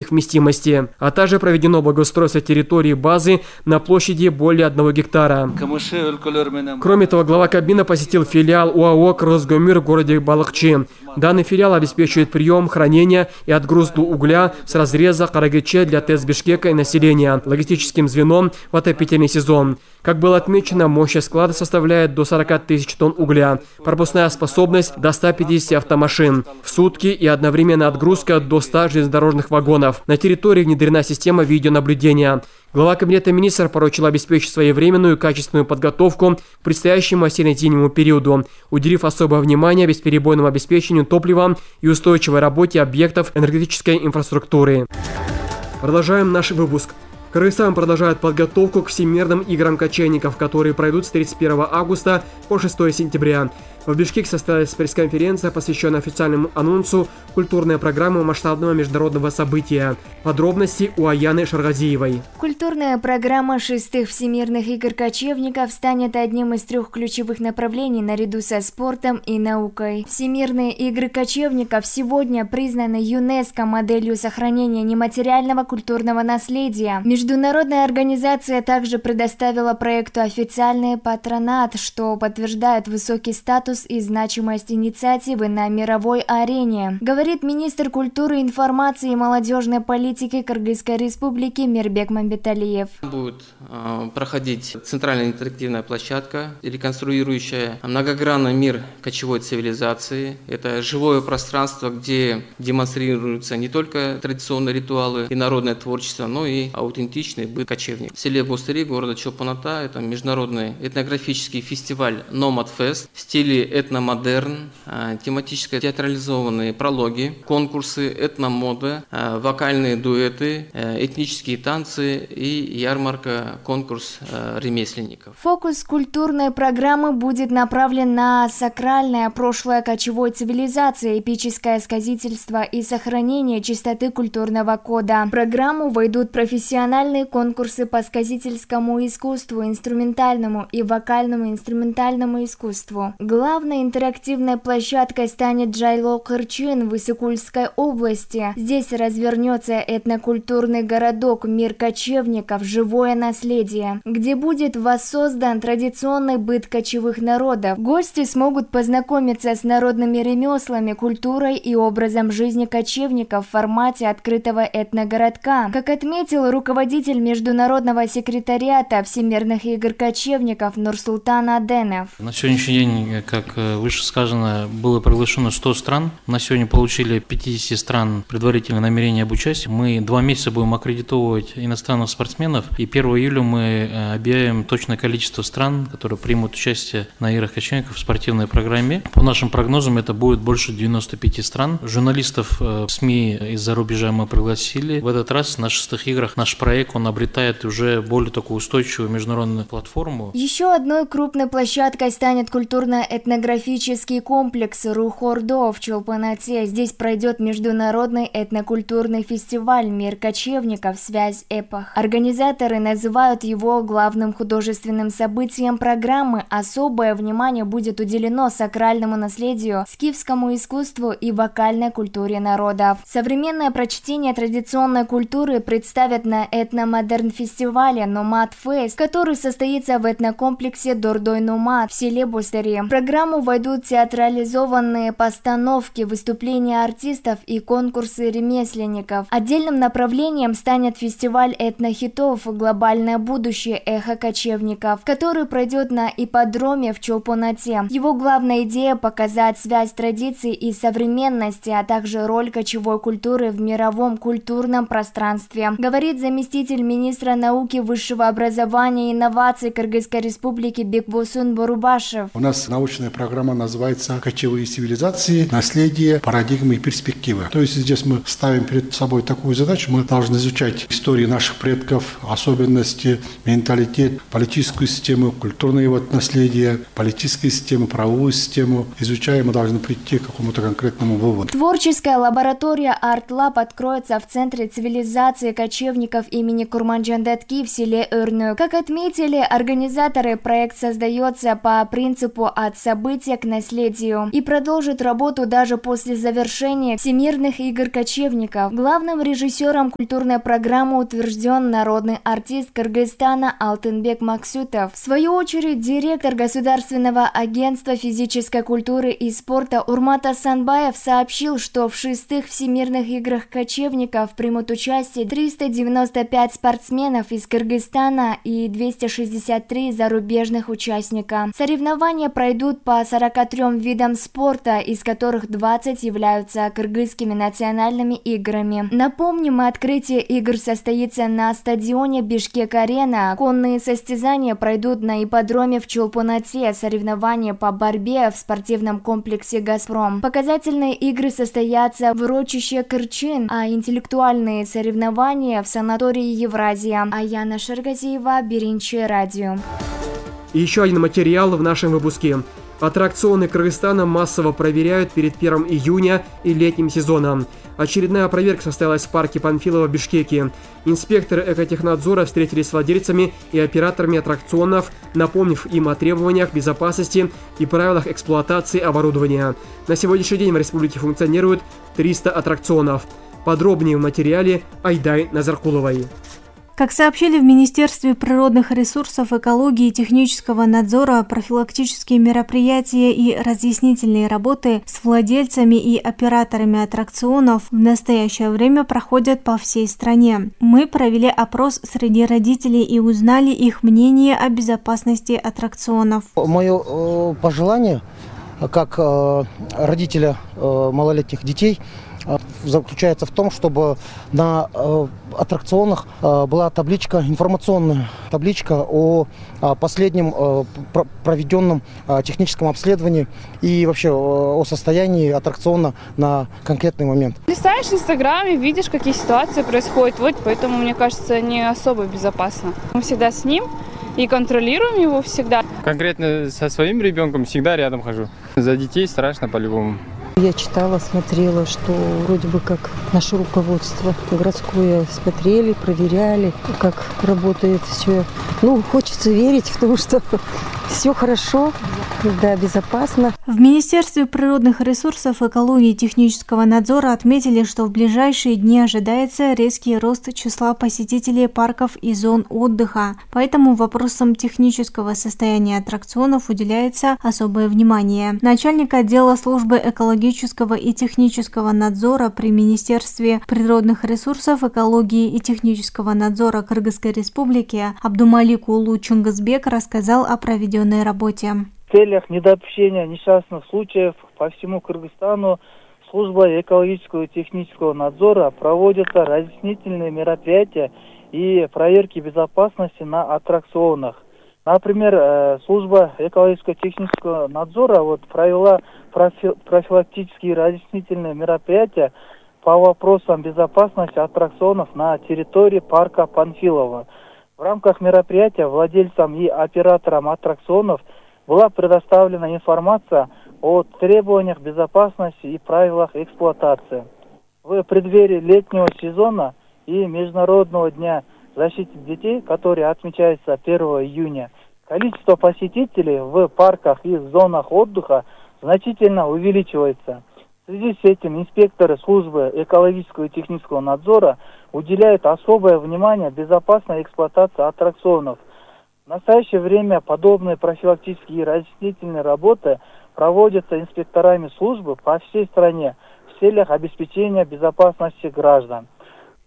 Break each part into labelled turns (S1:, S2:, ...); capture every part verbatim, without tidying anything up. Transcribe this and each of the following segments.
S1: вместимости, а также проведено благоустройство территории базы на площади более одного гектара. Кроме того, глава Кабмина посетил филиал ОАО «Кросгомир» в городе Балыкчы. Данный филиал обеспечивает прием, хранение и отгрузку угля с разреза Карагыче для ТЭЦ Бишкека и населения логистическим звеном в отопительный сезон. Как было отмечено, мощность склада составляет до сорока тысяч тонн угля, пропускная способность до ста пятидесяти автомашин в сутки и одновременная отгрузка до ста железнодорожных вагонов. На территории внедрена система видеонаблюдения. Глава Кабинета министров поручил обеспечить своевременную и качественную подготовку к предстоящему осенне-зимнему периоду, уделив особое внимание бесперебойному обеспечению топливом и устойчивой работе объектов энергетической инфраструктуры. Продолжаем наш выпуск. Кыргызстан продолжает подготовку к Всемирным играм кочевников, которые пройдут с тридцать первого августа по шестое сентября. В Бишкеке состоялась пресс-конференция, посвященная официальному анонсу культурной программы масштабного международного события. Подробности у Аяны Шаргазиевой.
S2: Культурная программа шестых Всемирных игр кочевников станет одним из трех ключевых направлений наряду со спортом и наукой. Всемирные игры кочевников сегодня признаны ЮНЕСКО моделью сохранения нематериального культурного наследия. Международная организация также предоставила проекту официальный патронат, что подтверждает высокий статус и значимость инициативы на мировой арене, говорит министр культуры, информации и молодежной политики Кыргызской республики Мирбек Мамбеталиев.
S3: Будет э, проходить центральная интерактивная площадка, реконструирующая многогранный мир кочевой цивилизации. Это живое пространство, где демонстрируются не только традиционные ритуалы и народное творчество, но и аутентичный быт кочевник. В селе Бустыри города Чолпон-Ата это международный этнографический фестиваль Nomad Fest в стиле этномодерн, тематически театрализованные прологи, конкурсы, этномода, вокальные дуэты, этнические танцы и ярмарка, конкурс ремесленников.
S2: Фокус культурной программы будет направлен на сакральное прошлое кочевой цивилизации, эпическое сказительство и сохранение чистоты культурного кода. В программу войдут профессиональные конкурсы по сказительскому искусству, инструментальному и вокальному инструментальному искусству. Главной интерактивной площадкой станет Джайло Кырчын в Исыкульской области. Здесь развернется этнокультурный городок «Мир кочевников. Живое наследие», где будет воссоздан традиционный быт кочевых народов. Гости смогут познакомиться с народными ремеслами, культурой и образом жизни кочевников в формате открытого этногородка. Как отметил руководитель международного секретариата Всемирных игр кочевников Нурсултан Аденов.
S4: На сегодняшний день, как выше сказано, было приглашено сто стран. На сегодня получили пятьдесят стран предварительное намерение об участии. Мы два месяца будем аккредитовывать иностранных спортсменов. И первого июля мы объявим точное количество стран, которые примут участие на играх кочевников в спортивной программе. По нашим прогнозам, это будет больше девяноста пяти стран. Журналистов СМИ из-за рубежа мы пригласили. В этот раз на шестых играх наш проект, он обретает уже более такую устойчивую международную платформу.
S2: Еще одной крупной площадкой станет культурно-этнографический комплекс Рухордо в Чолпон-Ате. Здесь пройдет международный этнокультурный фестиваль «Мир кочевников. Связь эпох». Организаторы называют его главным художественным событием программы. Особое внимание будет уделено сакральному наследию, скифскому искусству и вокальной культуре народов. Современное прочтение традиционной культуры представят на этномодерн-фестивале Nomad Fest, который состоится в этнокомплексе Дордой Номад в селе Бустыри. В программу войдут театрализованные постановки, выступления артистов и конкурсы ремесленников. Отдельным направлением станет фестиваль этнохитов «Глобальное будущее. Эхо кочевников», который пройдет на ипподроме в Чолпон-Ате. Его главная идея – показать связь традиций и современности, а также роль кочевой культуры в мировом культурном пространстве, говорит заместитель министра науки, высшего образования и инноваций Кыргызской республики Бекбосун Борубашев.
S5: У нас научная программа называется «Кочевые цивилизации. Наследие, парадигмы и перспективы». То есть здесь мы ставим перед собой такую задачу. Мы должны изучать историю наших предков, особенности, менталитет, политическую систему, культурное вот наследие, политическую систему, правовую систему. Изучая, мы должны прийти к какому-то конкретному выводу.
S2: Творческая лаборатория Art Lab откроется в Центре цивилизации кочевников имени Курманджандатки в селе Өрнөк. Как отметили организаторы, проект создается по принципу «от событий события к наследию и продолжит работу даже после завершения Всемирных игр кочевников. Главным режиссером культурной программы утвержден народный артист Кыргызстана Алтынбек Максютов. В свою очередь, директор Государственного агентства физической культуры и спорта Урмат Асанбаев сообщил, что в шестых Всемирных играх кочевников примут участие триста девяносто пять спортсменов из Кыргызстана и двести шестьдесят три зарубежных участника. Соревнования пройдут по сорока трём видам спорта, из которых двадцать являются кыргызскими национальными играми. Напомним, открытие игр состоится на стадионе Бишкек-Арена. Конные состязания пройдут на ипподроме в Чолпон-Ате, соревнования по борьбе в спортивном комплексе «Газпром». Показательные игры состоятся в урочище Кырчин, а интеллектуальные соревнования в санатории Евразия. Аяна Шаргазиева, Биринчи радио.
S1: И еще один материал в нашем выпуске. Аттракционы Кыргызстана массово проверяют перед первым июня и летним сезоном. Очередная проверка состоялась в парке Панфилова в Бишкеке. Инспекторы экотехнадзора встретились с владельцами и операторами аттракционов, напомнив им о требованиях безопасности и правилах эксплуатации оборудования. На сегодняшний день в республике функционирует триста аттракционов. Подробнее в материале Айдай Назаркуловой.
S6: Как сообщили в Министерстве природных ресурсов, экологии и технического надзора, профилактические мероприятия и разъяснительные работы с владельцами и операторами аттракционов в настоящее время проходят по всей стране. Мы провели опрос среди родителей и узнали их мнение о безопасности аттракционов.
S7: Мое э, пожелание, как э, родителя э, малолетних детей, заключается в том, чтобы на э, аттракционах э, была табличка, информационная табличка о, о последнем э, про, проведенном э, техническом обследовании и вообще э, о состоянии аттракциона на конкретный момент.
S8: Листаешь в Инстаграме, видишь, какие ситуации происходят, вот поэтому, мне кажется, не особо безопасно. Мы всегда с ним и контролируем его всегда.
S9: Конкретно со своим ребенком всегда рядом хожу. За детей страшно по-любому.
S10: Я читала, смотрела, что вроде бы как наше руководство городское смотрели, проверяли, как работает все. Ну, хочется верить в то, что все хорошо, да, безопасно.
S6: В Министерстве природных ресурсов, экологии и технического надзора отметили, что в ближайшие дни ожидается резкий рост числа посетителей парков и зон отдыха. Поэтому вопросам технического состояния аттракционов уделяется особое внимание. Начальник отдела службы экологического и технического надзора при Министерстве природных ресурсов, экологии и технического надзора Кыргызской Республики Абдумалик Улу Чунгызбек рассказал о проведенной работе.
S11: В целях недопущения несчастных случаев по всему Кыргызстану службой экологического и технического надзора проводятся разъяснительные мероприятия и проверки безопасности на аттракционах. Например, служба экологического и технического надзора вот провела профилактические разъяснительные мероприятия по вопросам безопасности аттракционов на территории парка Панфилова. В рамках мероприятия владельцам и операторам аттракционов была предоставлена информация о требованиях безопасности и правилах эксплуатации. В преддверии летнего сезона и Международного дня защиты детей, который отмечается первого июня, количество посетителей в парках и зонах отдыха значительно увеличивается. В связи с этим инспекторы службы экологического и технического надзора уделяют особое внимание безопасной эксплуатации аттракционов. В настоящее время подобные профилактические и разъяснительные работы проводятся инспекторами службы по всей стране в целях обеспечения безопасности граждан.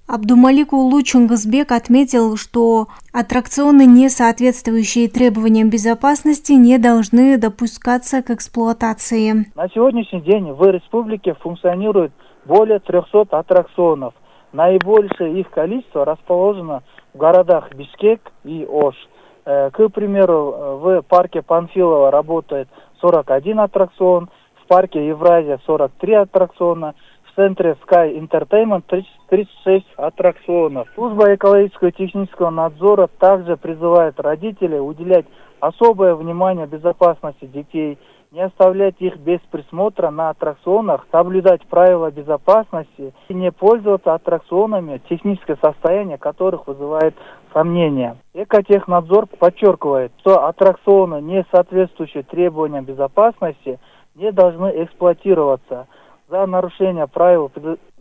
S6: Абдумалик Улу Чунгызбек отметил, что аттракционы, не соответствующие требованиям безопасности, не должны допускаться к эксплуатации.
S11: На сегодняшний день в республике функционирует более трехсот аттракционов. Наибольшее их количество расположено в городах Бишкек и Ош. К примеру, в парке Панфилова работает сорок один аттракцион, в парке Евразия сорок три аттракциона, в центре Sky Entertainment тридцать шесть аттракционов. Служба экологического и технического надзора также призывает родителей уделять особое внимание безопасности детей не оставлять их без присмотра на аттракционах, соблюдать правила безопасности и не пользоваться аттракционами, техническое состояние которых вызывает сомнения. Экотехнадзор подчеркивает, что аттракционы, не соответствующие требованиям безопасности, не должны эксплуатироваться. За нарушение правил,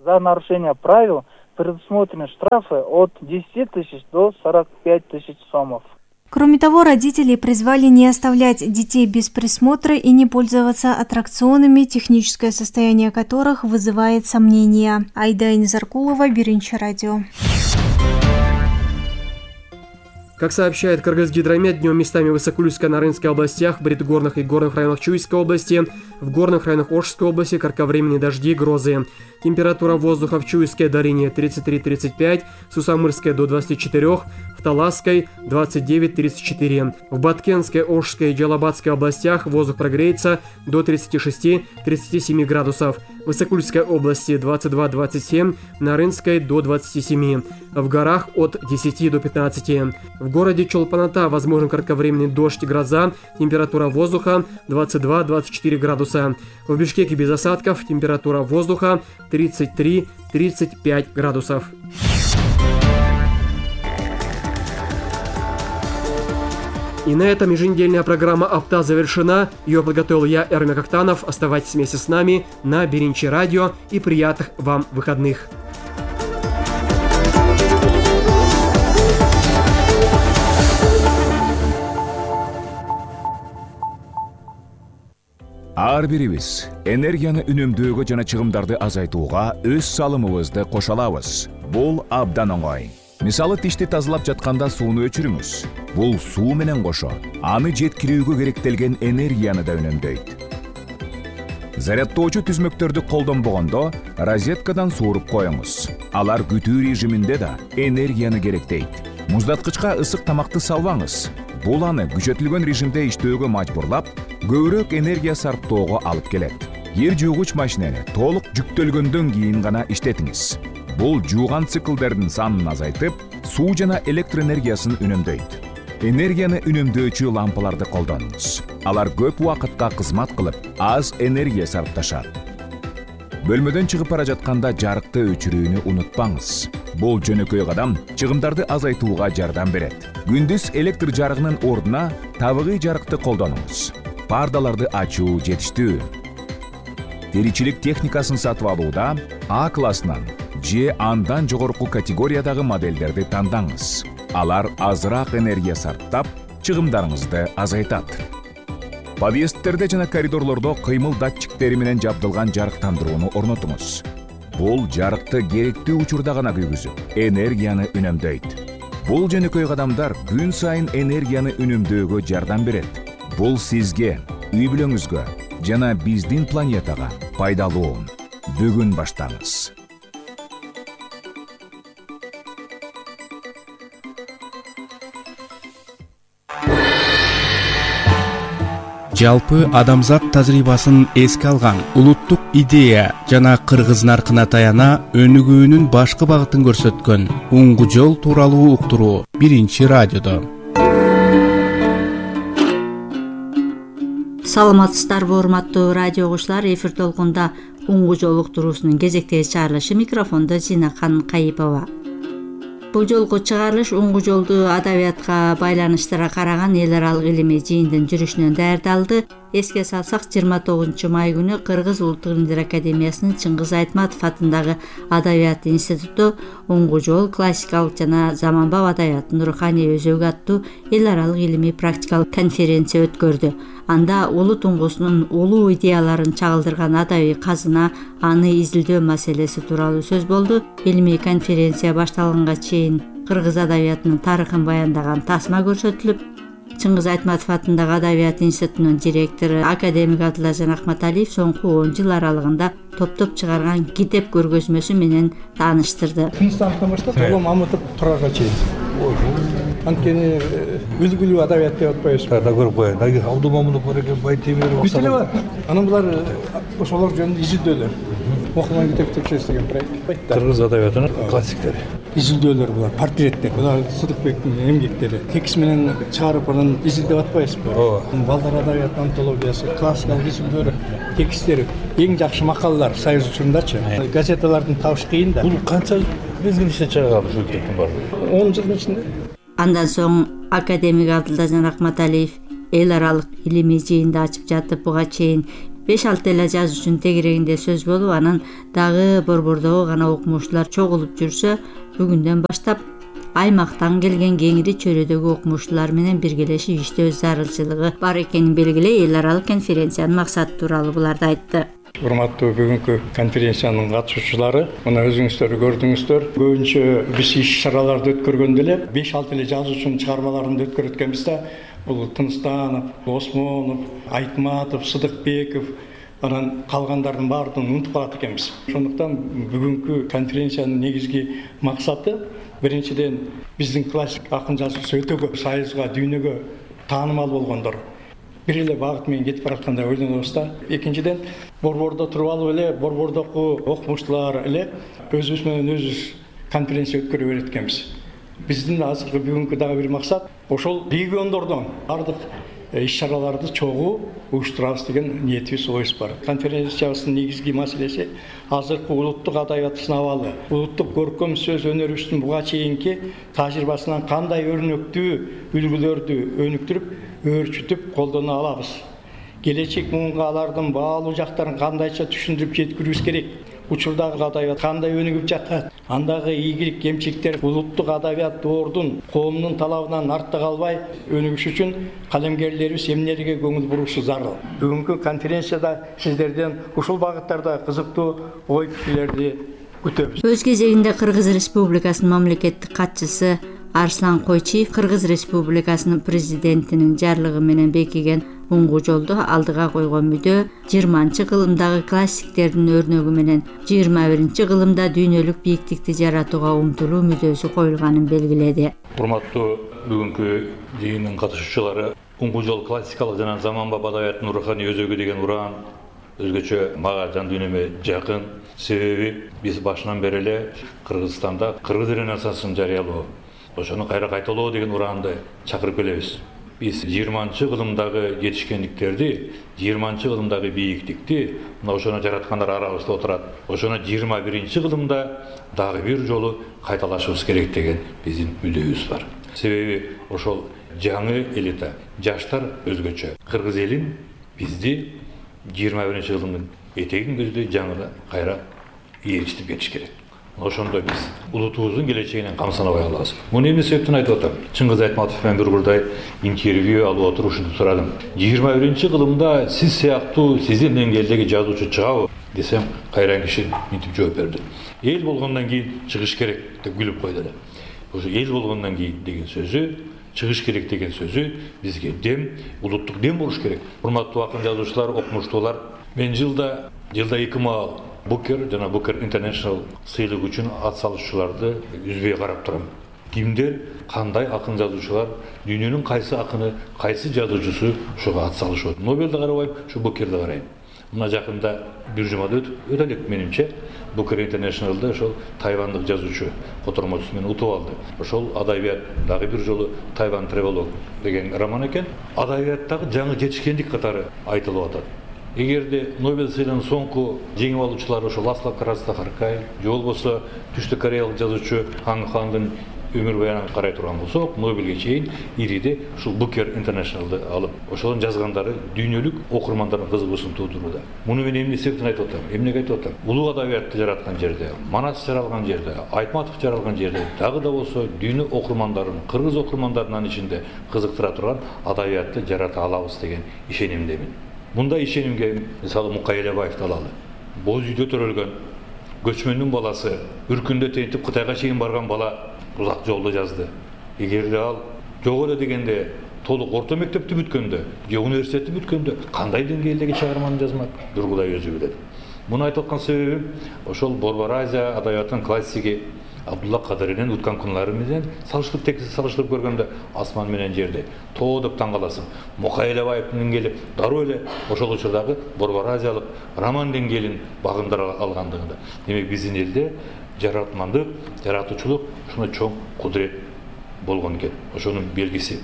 S11: за нарушение правил предусмотрены штрафы от десяти тысяч до сорока пяти тысяч сомов.
S6: Кроме того, родители призвали не оставлять детей без присмотра и не пользоваться аттракционами, техническое состояние которых вызывает сомнения. Айда Инзаркулова, Биринчи радио.
S1: Как сообщает Кыргызгидромет, днем местами в Высоколюйской, Нарынской областях, в предгорных и горных районах Чуйской области, в горных районах Ошской области кратковременные дожди и грозы. Температура воздуха в Чуйской долине тридцать три — тридцать пять, в Сусамырской до двадцати четырёх, в Таласской двадцать девять — тридцать четыре. В Баткенской, Ошской и Джалабадской областях воздух прогреется до тридцати шести — тридцати семи градусов. В Высокольской области двадцать два — двадцать семь, в Нарынской до двадцати семи. В горах от десяти до пятнадцати. В городе Чолпан-Ата возможен кратковременный дождь и гроза, температура воздуха двадцать два — двадцать четыре градуса. В Бишкеке без осадков, температура воздуха тридцать три — тридцать пять градусов. И на этом еженедельная программа «Апта» завершена. Ее подготовил я, Эрмек Актанов. Оставайтесь вместе с нами на Биринчи радио и приятных вам выходных.
S12: Ар бирибиз энергияны үнөмдөөгө жана чыгымдарды азайтууга өз салымыбызды кошо алабыз. Бул абдан оңой. Мисалы, тишти тазалап жатканда сууну өчүрүңүз. Бул суу менен кошо аны жеткирүүгө керектелген энергияны да үнөмдөйт. Зарядтоочу түзмөктөрдү колдонбогондо розеткадан сууруп коюңуз. Алар күтүү режиминде да энергияны керектейт. Муздаткычка ысык тамакты салбаңыз. Бул аны күчөтүлгөн режимде иштөөгө мажбурлап, көбүрөөк энергия сарптоого алып келет. Кир жуугуч машинени толук жүктөлгөндөн кийин гана иштетиңиз. Бул жууган циклдердин санын азайтып, суу жана электр энергиясын үнөмдөйт. Энергияны үнөмдөөчү лампаларды колдонуңуз. Алар көп убакытка кызмат кылып, аз энергия сарпташат. Бөлмөдөн чыгып бара жатканда жарыкты өчүрүүнү унутпаңыз. Бул жөнөкөй кадам чыгымдарды азайтууга жардам берет. Күндүз электр жарыгынын ордуна табигый жарыкты колдонуңуз. Пардаларды ачуу жетиштүү. Теричилик техникасын сатып алууда А классынан же андан жогорку категориядагы модельдерди тандаңыз. Алар азыраак энергия сарптап, чыгымдарыңызды азайтат. Подъездтерде жана коридорлордо кыймыл датчиктери менен жабдылган жарыктандырууну орнотуңуз. Бул жарыкты керектүү учурда гана күйгүзүп, энергияны үнөмдөйт. Бул жөнөкөй кадамдар күн сайын энергияны үнөмдөөгө жардам берет. Бул сизге, үй бүлөңүзгө жана биздин планетага пайдалуу. Бүгүн баштаңыз.
S13: Жалпы адамзат тажрыйбасын эске алган улуттук идея жана кыргыз наркына таяна өнүгүүнүн башкы багытын көрсөткөн уңгу жол тууралуу уктуруу Биринчи радиодо.
S14: Саламатсыздарбы, урматтуу радио угуучулар, эфир толкунда уңгу жол уктуруусунун кезектеги чыгарылышы, микрофондо Зинакан Кайыпова. Бул жолку чыгарылыш уңгу жолду адабиятка байланыштыра караган эл аралык илимий жыйындын жүрүшүнөн даярдалды. Эске салсак, жыйырма тогузунчу май күнү Кыргыз Улуттук Илимдер Академиясынын Чыңгыз Айтматов атындагы Адабият институту уңгу жол, классикалык жана заманбап адабияттын руханий өзөгү аттуу эл аралык илимий практикалык конференция өткөрдү. Анда улут туңгусунун улуу идеяларын чагылдырган адабий казына, аны изилдөө маселеси тууралуу сөз болду. Илимий конференция башталганга чейин кыргыз адабиятынын тарыхын баяндаган тасма көрсөтүлүп, Чыңгыз Айтматов атындагы Адабият институтунун директору академик Абдылажан Акматалиев соңку он жыл аралыгында топтоп чыгарган китеп көргөзмөсү менен тааныштырды.
S15: Кыргызстандын баштап Улуу Мамытов Турарга чейин. Анткени үлгүлүү адабият деп атпайбыз. Да көрүп коеюн. Дагы Абдул Мамытов бар экен, Байтемиров. Бүтүнө бар. Анан булар ошолор жөнүндө изилдөөлөр. Окулган китептер чечилген проект.
S16: Кыргыз адабиятынын классиктери.
S15: изилдөөлөр булар, портреттер. Булар Сыдыкбектин эмгектери. Текст менен чыгарып анан изилдеп атпайсызбы? Ооба. Балдар адабият антологиясы, классикалык изилдөөлөр, тексттери, эң жакшы макалалар Союз учурундачы. Газеталардын табыш кыйын да.
S16: Бул канча мезгил иште чыгарган ушул китептин баары?
S15: он жылдын ичинде.
S14: Андан соң академик Абдылдажан Рахматалиев эл аралык илимий жыйынды ачып жатып, буга чейин беш алты эле жазуучунун тегерегинде сөз болуп, анан дагы борбордогу гана окумуштуулар чогулуп жүрсө, бүгүндөн баштап аймактан келген кеңири чөйрөдөгү окумуштуулар менен биргелешип иштөө зарылчылыгы бар экенин белгилей эл аралык конференциянын максаты тууралуу буларды айтты.
S15: Урматтуу бүгүнкү конференциянын катышуучулары, мына өзүңүздөр көрдүңүздөр, көбүнчө биз иш-чараларды өткөргөндө эле беш алты эле жазуучунун чыгармаларын өткөрүп өткөнбүз да, бул Тынстанов, Осмонов, Айтматов, Сыдыкбеков, анан калгандардын баардыгын унутуп калат экенбиз. Ошондуктан бүгүнкү конференциянын негизги максаты биринчиден биздин классик акын жазуучу өтө көп Союзга, дүйнөгө таанымал болгондор бир эле багыт менен кетип бараткандай ойлонобуз да. Экинчиден борбордо туруп алып эле борбордогу окумуштуулар эле өзүбүз менен өзүбүз конференция өткөрө берет экенбиз. Биздин азыркы бүгүнкү дагы бир максат ошол региондордон бардык иш-чараларды чогуу уюштурабыз деген ниетибиз, оюбуз бар. Конференциябыздын негизги маселеси азыркы улуттук адабияттын абалы, улуттук көркөм сөз өнөрүбүздүн буга чейинки тажрыйбасынан кандай өрнөктүү үлгүлөрдү өнүктүрүп, өөрчүтүп колдоно алабыз. Келечек муунга алардын баалуу жактарын кандайча түшүндүрүп жеткирүүбүз керек. Учурдагы адабият кандай өнүгүп жатат, андагы ийгилик кемчиликтер улуттук адабият доордун коомдун талабынан артта калбай өнүгүш үчүн калемгерлерибиз эмнелерге көңүл бурушу зарыл. Бүгүнкү конференцияда сиздерден ушул багыттарда кызыктуу ой пикирлерди күтөбүз.
S14: Өз кезегинде Кыргыз Республикасынын мамлекеттик катчысы Арслан Койчиев Кыргыз Республикасынын президентинин жарлыгы менен бекиген уңгу жолду алдыга койгон мүдө жыйырманчы кылымдагы классиктердин өрнөгү менен жыйырма биринчи кылымда дүйнөлүк бийиктикти жаратууга умтулуу мүдөөсү коюлганын белгиледи.
S16: Урматтуу бүгүнкү жыйындын катышуучулары, уңгу жол классикалык жана заманбап адабияттын руханий өзөгү деген уран өзгөчө мага жан дүйнөмө жакын. Себеби биз башынан бери эле Кыргызстанда кыргыз ренессансын жарыялоо, ошону кайра кайталоо деген ураанды чакырып келебиз. Биз жыйырманчы кылымдагы жетишкендиктерди, жыйырманчы кылымдагы бийиктикти мына ошону жараткандар арабызда отурат. Ошону жыйырма биринчи кылымда дагы бир жолу кайталашыбыз керек деген биздин мүдөөбүз бар. Себеби ошол жаңы элита, жаштар өзгөчө кыргыз элин бизди жыйырма биринчи кылымдын этегин көздөй жаңы кайра ээрчитип кетиш керек. Ошондо биз улутубуздун келечегинен камсанабай калабыз. Муну эмне себептен айтып атам? Чыңгыз Айтматов менен бир урдай интервью алып отуруп ушинтип сурадым. жыйырма биринчи кылымда сиз сыяктуу сиздин деңгээлдеги жазуучу чыгабы десем, кайран киши мынтип жооп берди. Эл болгондон кийин чыгыш керек деп күлүп койду эле. Ошо эл болгондон кийин деген сөзү, чыгыш керек деген сөзү бизге дем, улуттук дем болуш керек. Урматтуу акын жазуучулар, окумуштуулар, мен жылда жылда эки маал Букер жана Букер International сыйлык үчүн ат салышчуларды үзбөй карап турам. Кимдер, кандай акын жазуучулар, дүйнөнүн кайсы акыны, кайсы жазуучусу ошого ат салышат. Нобелди карабайм, ушу Букерди карайм. Мына жакында бир жумада өтүп өтө элек менимче Букер International'да ошол тайвандык жазуучу котормочусу менен утуп алды. Ошол адабият дагы бир жолу Тайван Тревелог деген роман экен. Адабияттагы жаңы жетишкендик катары айтылып атат. Эгерде Нобель сыйлыгынын соңку жеңип алуучулары ошол Ласло Крастахаркай, же болбосо Түштүк Кореялык жазуучу Хан Хандын өмүр баянын карай турган болсок, Нобелге чейин ириде ушул Букер International'ды алып, ошонун жазгандары дүйнөлүк окурмандардын кызыгуусун туудурууда. Муну мен эмне себептен айтып атам? Эмнеге айтып атам? Улуу адабиятты жараткан жерде, Манас жаралган жерде, Айтматов жаралган жерде, дагы да болсо дүйнө окурмандарын, кыргыз окурмандарынын ичинде кызыктыра турган адабиятты жарата алабыз деген ишенимдемин. Мындай ишенимге мисалы Мукай Элебаевди алалы. Боз үйдө төрөлгөн көчмөндүн баласы, бир күндө тентип Кытайга чейин барган бала узак жолду жазды. Эгерде ал жок эле дегенде толук орто мектепти бүткөндө, же университетти бүткөндө кандай деңгээлдеги чыгарманы жазмак? Дургудай өзү билет. Муну айтып аткан себебим ошол Борбор Азия адабиятынын классиги Абдулла Кадыринин уткан күнлары менен салыштырып текси салыштырып көргөндө асман менен жерди тоо деп таң каласың. Мукай Элебаевдин келип дароо эле ошол учурдагы Борборазиялык роман деңгээлин багындыра алгандыгында. Демек биздин элде жаратмандык, жаратуучулук ушундай чоң кудурет болгон экен. Ошонун белгиси.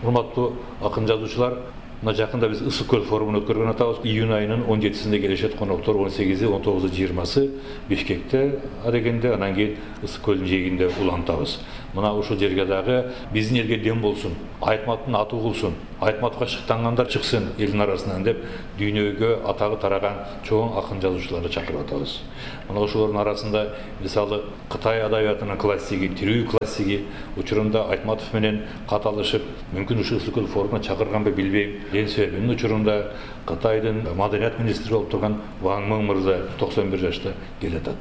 S16: Урматтуу акын жазуучулар, мына жакында биз Ысык көл форумун өткөргөн атабыз. Июнь айынын он жетисинде келишет коноктор он сегизи, он тогузу, жыйырмасы Бишкекте адегенде, анан кийин Ысык көлдүн жээгинде улантабыз. Мына ушул жерге дагы биздин элге дем болсун, Айтматтын аты угулсун, Айтматка шыктангандар чыксын элдин арасынан деп дүйнөгө атагы тараган чоң акын жазуучуларды чакырып атабыз. Мына ошолордун арасында мисалы Кытай адабиятынын классиги, тирүү классиги учурунда Айтматов менен кат алышып, мүмкүн ушул Ысык көл форумуна чакырганбы билбейм. Ден себебинин учурунда Кытайдын маданият министри болуп турган Ван Мын мырза токсон бир жашта келатат.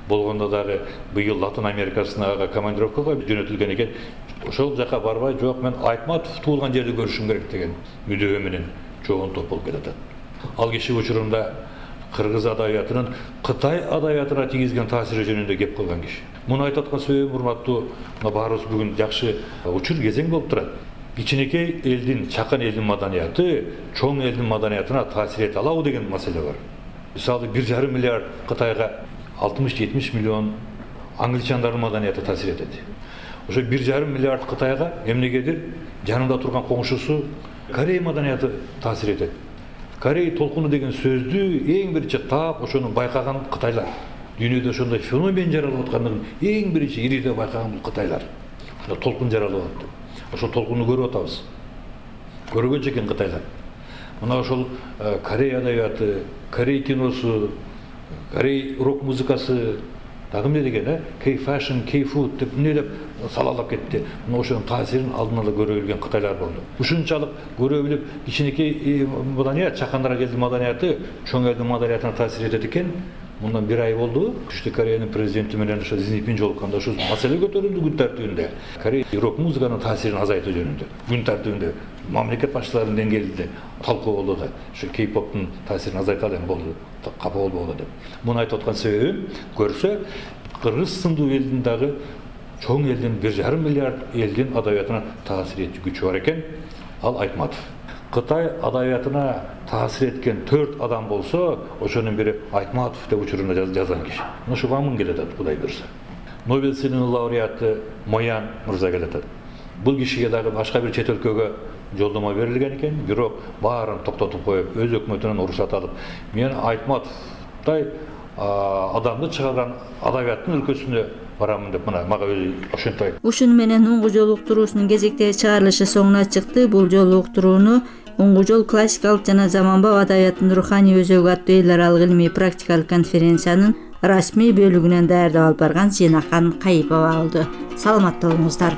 S16: Болгондо дагы быйыл Латын Америкасына командировкага жөнөтүлгөн экен. Ошол жака барбай, жок, мен Айтматов туулган жерди көрүшүм керек деген мүдөө менен чоң топ болуп келатат. Ал киши учурунда кыргыз адабиятынын Кытай адабиятына тийгизген таасири жөнүндө кеп кылган киши. Муну айтып аткан себебим, урматтуу, баарыбыз бүгүн жакшы учур кезең болуп турат. Кичинекей элдин, чакан элдин маданияты чоң элдин маданиятына таасир эте алабы деген маселе бар. Мисалы бир жарым миллиард Кытайга алтымыш-жетимиш миллион англичандардын маданияты таасир этет. Ошо бир жарым миллиард Кытайга эмнегедир жанында турган коңшусу Корей маданияты таасир этет. Корей толкуну деген сөздү эң биринчи таап ошону байкаган Кытайлар. Дүйнөдө ошондой феномен жаралып аткандыгын эң биринчи ирide байкаган бул Кытайлар. Ошо толкун жаралып атты. Ошол толкунду көрүп атабыз. Көргөнчө экен Кытайлар. Мына ошол Корей адабияты, Корей киносу, Корей рок музыкасы дагы эмне деген, э? K-fashion, K-food деп эмне деп салалап кетти. Мына ошонун таасирин алдын ала көрө билген Кытайлар болду. Ушунчалык көрө билип, кичинекей маданият, чакандарга элдин маданияты чоң элдин маданиятына таасир этет экен. Мындан бир ай болду. Түштүк Кореянын президенти менен ошо Си Цзиньпин жолукканда ошол маселе көтөрүлдү күн тартибинде. Корей рок музыканын таасирин азайтуу жөнүндө. Күн тартибинде мамлекет башчыларынын деңгээлинде талкуу болду да. Ошо Кей-поптун таасирин азайталы болду. Капа болбогула деп. Муну айтып аткан себебим, көрсө кыргыз сындуу элдин дагы чоң элдин бир жарым миллиард элдин адабиятына таасир этүү күчү бар экен. Ал Айтматов. Кытай адабиятына таасир эткен төрт адам болсо, ошонун бири Айтматов деп учурунда жазган киши. Ошо Ван Мын келатат, Кудай буйрса. Нобель сыйлыгынын лауреаты Моян мырза келатат. Бул кишиге дагы башка бир чет өлкөгө жолдомо берилген экен, бирок баарын токтотуп коюп, өз өкмөтүнөн уруксат алып, мен Айтматовдай адамды чыгарган адабияттын өлкөсүнө барамын деп мына мага өзү ошентип айтты.
S14: Ушуну менен Уңгу жол уктуруусунун кезектеги чыгарылышы соңуна чыкты. Бул жолу уктурууну Уңгу жол классикалык жана заманбап адабияттын руханий өзөгү аттуу эл аралык илимий практикалык конференциянын расмий бөлүгүнөн даярдап алып барган Зинакан Кайыпова алды. Саламатта болуңуздар.